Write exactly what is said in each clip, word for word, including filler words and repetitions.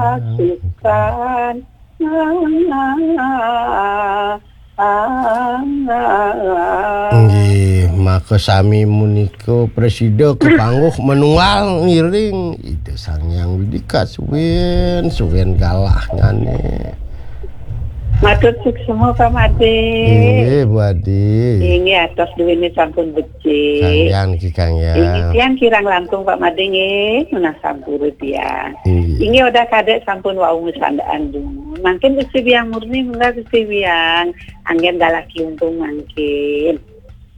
Kasuksan. Nggih, maka sami menika prasida kepangguh manual ngiring Ida Sang Hyang Widhi kasuwin, suwin galahnyane. Matur suksma, Pak Made. Inggih, Bu Adi. Inggih, atos duwene sampun becik. Kangyan niki, kangyan. Inggih, tiang kirang langkung, Pak Made, nggih. Menawi sampun tiang. Inggih. Inggih, Odah Kadek sampun wau ngesandaan dumun. Mangkin Gusti Biang Murni, munggah Gusti Biang. Anggen galah klimpung mangkin.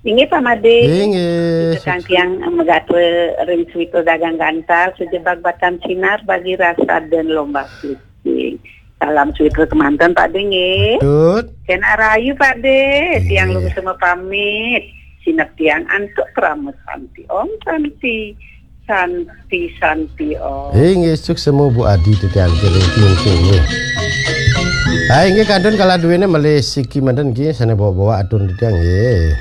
Inggih, Pak Made. Inggih. Ingkang tiang megatra ring Swita Dagang Gantar, sejebak batang sinar bagi rasa dan lomba syuting. Salam Swita kemanten, Pak De, nggih. Tut. Kena rayu, Pak De. Tiang Inggih. Lungsema pamit. Sinep tiang antuk pramut santi. Om Santi. Santi, Santi, Om. Inggih, suksma Bu Adi titiang kiring klimpung nggih. Ha, inggih kantun kala duwene malih siki manten nggih sane bawa-bawa atur titiang nggih.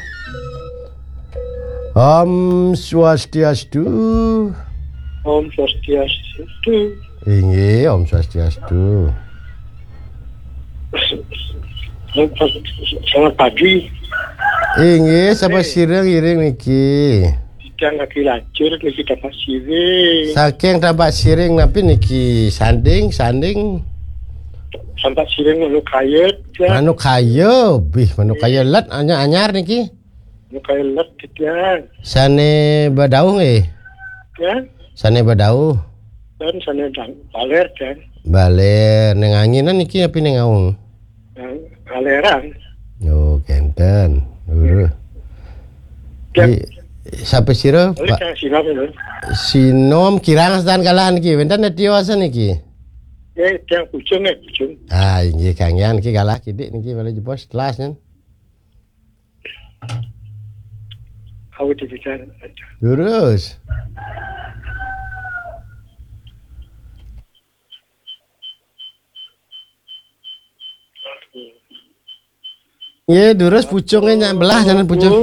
Om Swastiastu. Om Swastiastu. Inggih, Om Swastiastu. Selamat pagi. Inggih, sapa sira ngiring niki? Titiang lagi lacur niki Tapak Siring. Saking Tapak Siring napi niki? Sanding, sanding. Tapak Siring Manukaya, ya. Manukaya, bih Manukaya let anyar-anyar niki. Manukaya let titiang. Sane badauh nggih? Ya. Sane badauh. Dan sane dang baler, dan. Baler ning anginan niki napi ning aung? Yang baleran. Oh, kenten. Lurus. Ya. Di, sapa sira, Oleh Pak? Yang siram itu. Sinom kirang sedan kalah niki. Wenten netio asa niki? Ya, yang bujung, ya, bujung. Ah, inggih kangyan niki kalah kidik niki malih jebos telas nyen. Aku dibicara. Lurus. Nggih, durus pucunge nyak belah, jangan pucung.